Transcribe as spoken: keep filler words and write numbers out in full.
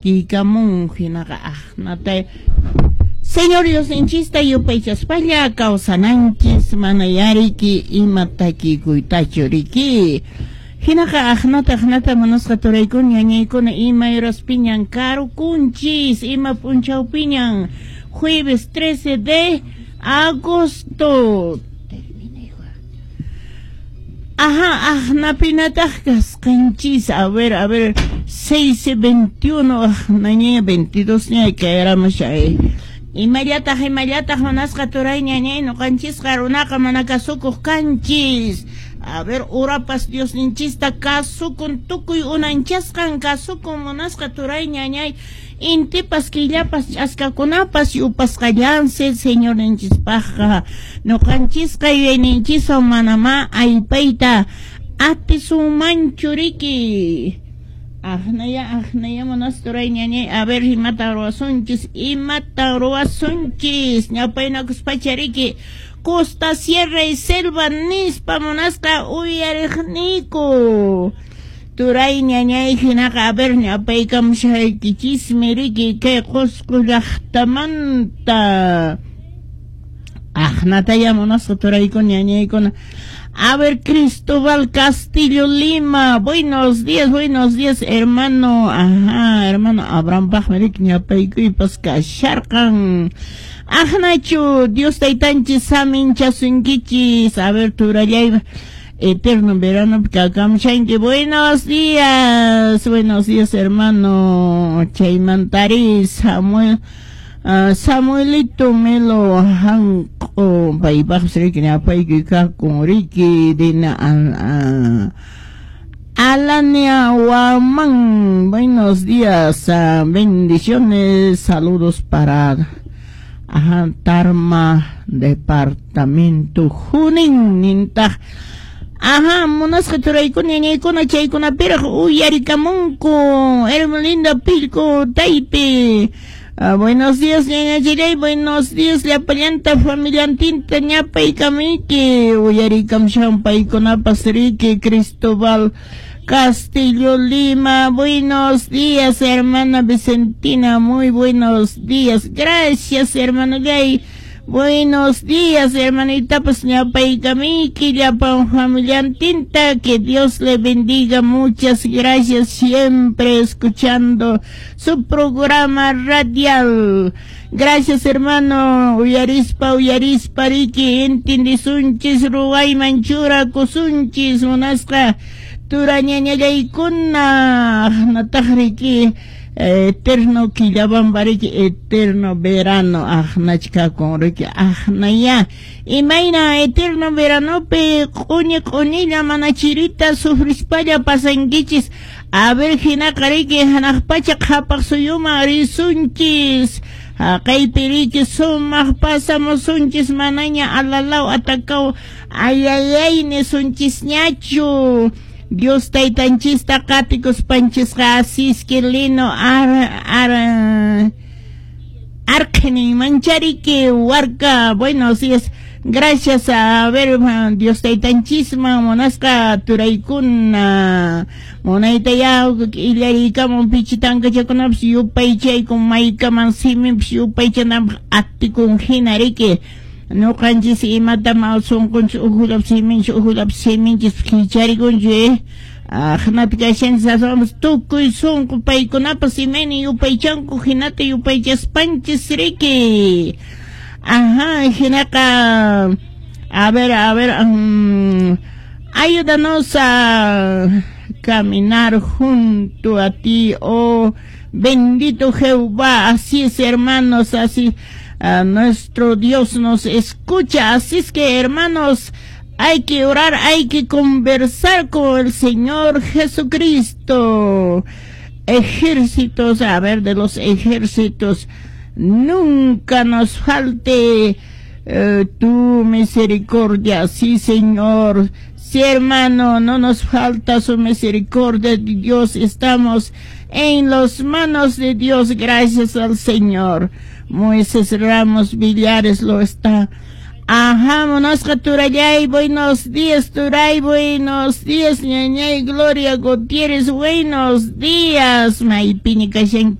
Takiykamun hinaqa aqnata Señor Diosninchista yupaychaspalla kawsananchis mana yariki ima takikuytachu riki. Hinaqa aqnata aqnata munasqa turaykuna ñañaykuna ima horaspiñan karukunchis ima p'unchawpiñan jueves trece de agosto. Ajá, aqnapinataq kasqanchis. A ver, a ver, seis veintiuno, aqnaña veintidós ña kayaramushay. Imallataq, imallataq munasqa turay ñañay ñuqanchisqa runaqa mana kasukuq kanchis. A ver, urapas Diosninchista kasukun tukuy unanchasqan kasukun munasqa turay ñañay. Intipas killapas ch'askakunapas yupasqallansi Señorninchispaqqa. Ñuqanchisqa yuyayninchiswan manamá aypayta atisunmanchu riki. Aqnaya, aqnaya munasqa turay ñañay. A ver, imata ruwasunchis, imata ruwasunchis. Ñawpaynakuspacha riki. Costa, Sierra y Selva nispa munasqa uyariqniku. Turay ñañay hinaqa a ver ñawpaykamushaykichismi riki kay Qusqu llaqtamanta. Aqnataya munasqa turaykuna ñañaykuna. A ver, Cristóbal Castillo Lima. Buenos días, buenos días, hermano. Ajá, hermano Abraham paqmi riki ñawpaykuypas kasharqan. Aqnachu, Dios taytanchis saminchasunkichis. A ver, turallay eterno verano kakamshanki. Buenos días, buenos días, hermano. Chaymantari Samuel. Uh, Samuelito Melo Hanko paypaqpas riki ñawpaykuy kakun riki dina uh, Alania Guamán. Buenos días, uh, bendiciones, saludos para ajá, Tarma, departamento Junín, nintaq. Ajá, munasqa turaykuna ñañaykuna chaykunapiraq uyarikamunku Hermelinda Pilco Taypi. Uh, buenos días, ñañachillay, buenos días, llapallanta familiantinta ñapaykamiki, uyarikamshan paykunapas riki, Cristóbal Castillo Lima, buenos días, hermana Vicentina, muy buenos días, gracias, hermano Gay. Buenos días, hermanita, pues ñapaykamiki, llapan familiantinta, que Dios le bendiga, muchas gracias, siempre escuchando su programa radial. Gracias, hermano, uyarispa, uyarispa, riki, entendisunchis, ruwayman churakusunchis, munasqa, turañañallaykuna, nataq riki, eterno quillabamba riki, eterno verano aqnachkakun riki, aqnaya imayna eterno veranopi q'uñi q'uñilla mana chirita sufrispalla pasankichis. A ver, hinaqa riki hanaq pacha qhapaq suyuman risunchis, haqaypi riki sumaq pasamusunchis, manaña alalaw atakaw ayayay nisunchisñachu. Dios taytanchista qatikuspanchisqa asisque lino ar ar arqhinin manchariki warka. Buenos días, gracias. A ver, Dios taytanchisman munasqa turaykuna munaytaya illariykamun pichitankachakunapas yupaychaykun maykaman siminpas yupaychananpaq atikun hina riki. Ñuqanchis imatam sunqunchis uhullap siminchis uhullap siminchis kicharikunchik eh aqnapi kashanchis aswanpas tukuy sunqu paykunapas imayna yupaychanku hinata yupaychaspanchis riki. Ajá, hinaqa a ver, a ver, um, ayúdanos a caminar junto a ti, oh bendito Jehová. Así es, hermanos, así uh, nuestro Dios nos escucha. Así es que, hermanos, hay que orar, hay que conversar con el Señor Jesucristo. Ejércitos, a ver, de los ejércitos, nunca nos falte eh, tu misericordia. Sí, Señor. Sí, hermano, no nos falta su misericordia de Dios. Estamos en las manos de Dios, gracias al Señor. Moisés Ramos Villares lo está. Ajá, munasqa turallay, buenos días, turay, buenos días, ñañay, Gloria Gutiérrez, buenos días, maypiña kashan.